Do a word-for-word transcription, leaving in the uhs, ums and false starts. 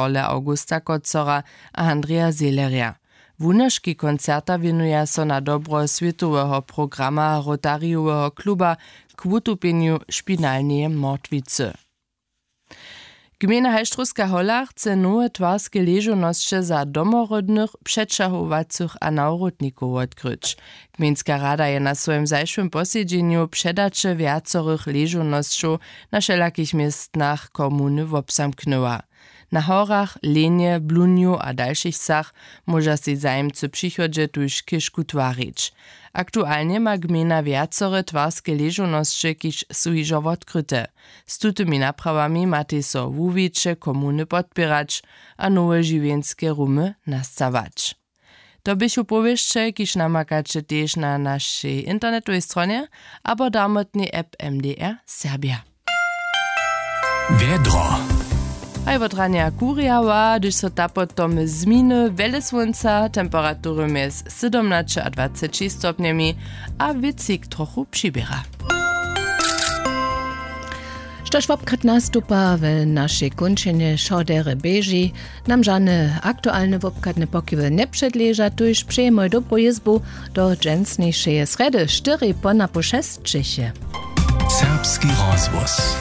Horle Augusta Kocora a Andreja Seelerja. Wunoški koncerta wěnuja so na dobro swětoweho programa Rotarijoweho kluba k wutupjenju špinalneje mortwicy. Gmejna Halštrowska Hola chce nowe twarske ležownosće za domoródnych, přećahowacych a nawrótnikow wotkryć. Gmejnska rada je na swojim zašłym posedźenju předaće wjacorych ležownosćow na wšelakich městnach komuny wobzamknyła. Na horach, lenje, blunju a dalšich wsach móža sej zajimcy w přichodźe tuž chěžku twarić. Aktualnje ma gmejna wjacore twarske ležownosće, kiž su hižo wotkryte. Z tutymi naprawami matej so wuwiće komuny podpěrać a nowe žiwjenske rumy nastawać. To běchu powěsće, kiž namakaće tež na našej internetowej stronje abo darmotnej app M D R Serbia. Wjedro. Haj wot ranja kurjała, hdyž so ta potom zminy, wjele słónca, temperatury mjez sydomnaće a dwaceći stopnjemi a wětřik trochu přiběra. Štož wobchad nastupa w našej kónčenje wšo derje běži, nam žane aktualne wobchadne pokiwy njepředleža, tuž přejemoj dobru jězbu do dźensnišeje srjedy štyri po napoł šesć ćěchje. Serbski rozhłos.